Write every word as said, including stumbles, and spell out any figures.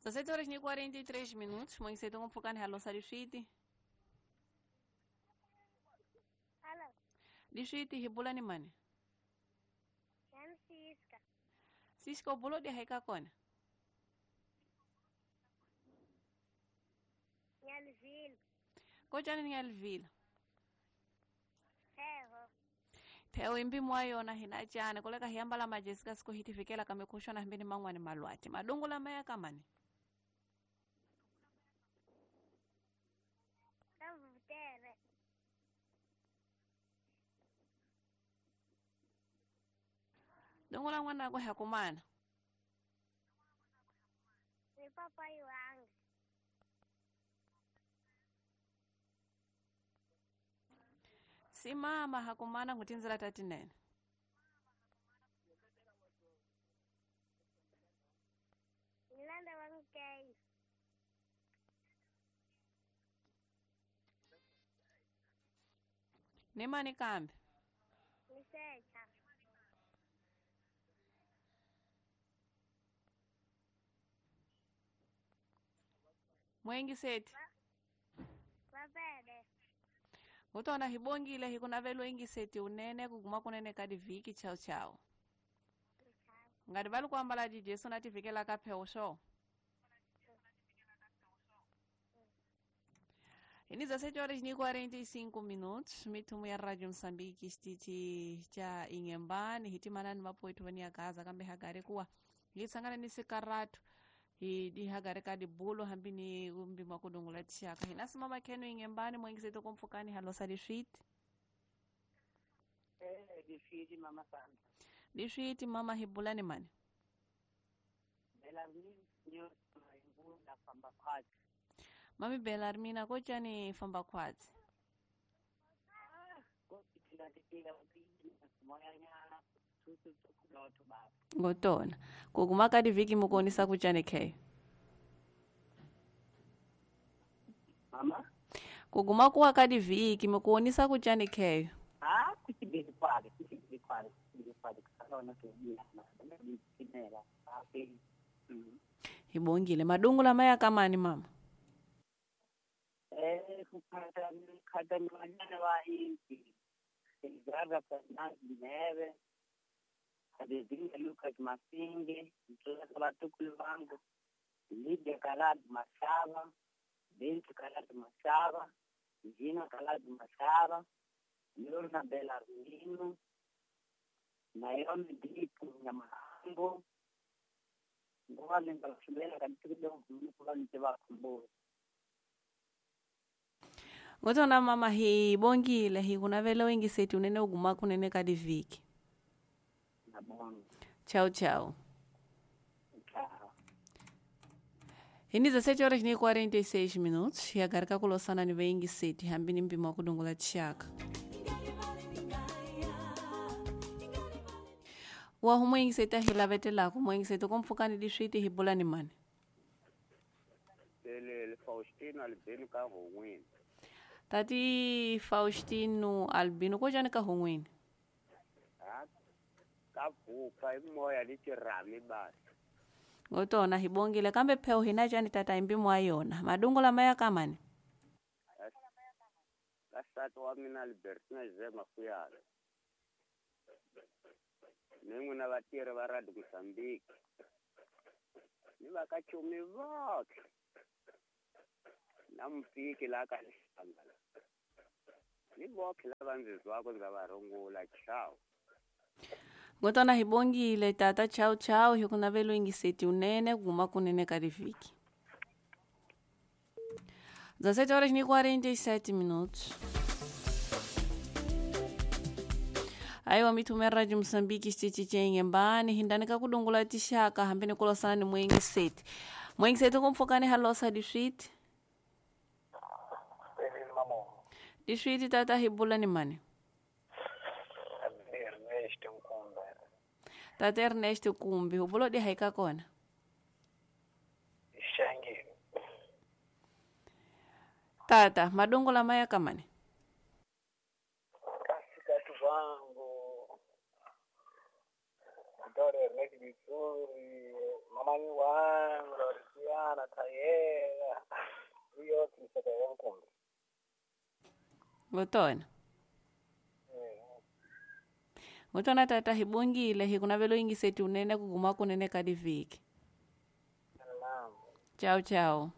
dezessete horas e quarenta e três minutos. Mãe, você tem um pouco de halosa de shiti. Alô. De shiti hibula ni mani? Yan Siska. Siska obulo de haika kona? Nhalvila. Kojani Nhalvila? Theo. Theo imbi mwayona hina chane koleka hiyambala majesika siku hitifikela kamekushona himbini mangwani malwati. Madungula maya kamani? Kavutere. Dungula mwana kwa hakumana? Ni papai wangu. Si mama hakumana kutinzira tati nene. Nilanda wankei. Nemani kambi? Nisecha. Mwengi seti? Wapede. Utona hibongile hikunavelo ingi seti unene kuguma kunene kadi viki chao chao. Ngadi balu kwambala di Jesu natifikela kapeo sho. Ini dezessete horas e quarenta e cinco minutos, mitumu ya Radio Msambiki stiti cha Inhambane, hitimanani mapoetu vania gaza kambe hagare kuwa. Hitsangana ni sikaratu. Hi hagare kadi bulo hambini umbi makudungula tshaka. Hinasimama kenu Inhambane mwengi seto kumfukani halosa di shit. Eh, di shit mama sana. Di shit mama hibulani mani. Belarmina nyo imbula famba kwatsi. Mami Belarmina kochani famba kwatsi. Ah, ko tila moya nyana tutu tukuloto baba. Ngotona. Kuguma kadi viki mukonisa kuchane ke. Mama? Kuguma kuwa kadi viki mukonisa kuchane ke. Ah, kuchibili kwale, kuchibili kwale, kuchibili kwale kusalaona kebina na kinela. Ah, mm. Hibongile madungula maya kamani mama. Eh, kupata kada mwana wa inti. Edgardo Fernandes Neve, Adezinga Lucas Masinge, Mtoto Batukulu wangu, Lydia Kalad Masaba, Bintu Kalad Masaba, Gina Kalad Masaba, Lorna Belarmino, Naomi Dipu Nyamahambo, Ngwale Ngalashubela katika mkula niteba kumbo. Ngotona mama hibongile hikunavele wengi seti unene uguma kunene kadi viki. Chao chao. Chao. Ini dezessete horas e quarenta e seis minutos. E agora kakulosana ni wengi seti hambini mpimo kudungula tshaka. Wa humwengi seti ahilavetelako mwengi seti komfukani diswiti hibulani mani. Lele Faustino Albino ka hongwini. Tati Faustino Albino kojani ka hongwini? Ah, ka vuka imoya litirami basi. Ngotona hibongile kambe pheo hinachani tata imbi mwayona. Madungula maya kamani? Kasati wa mina Albertina Zema kuyala. Nengu na vatiri va Radio Mozambique. Ni vakachumi votlhe. Na mupiki la ka hlangana. Ni votlhe lava ndzi zwako ndza va rungula chao. Ngotona hibongile tata chao chao hikunavelo ingiseti unene guma kunene kadiviki. dezessete horas e quarenta e sete minutos. Aiwa mitume Radio Mozambique stiti cha Inhambane hindani kakudungula tishaka hambeni kulosana ni mwengi seti. Mwengi seti kumfukani halosa dishiti. Dishiti tata hibula ni mani? Ernesto Nkumbi. Tata Ernesto Nkumbi, ubulo di haika kona? Ishangi. Tata, madungula maya kamani? Kasi katu vangu. Dore Ernesto Vizuri, mamani wangu, Lorisiana, Thayela iyo miseka ya nkumbi. Ngutona. Eh, Ngutona tata hibungile hikunavelo ingiseti unene kuguma kunene kadiviki. Naam. Chao chao.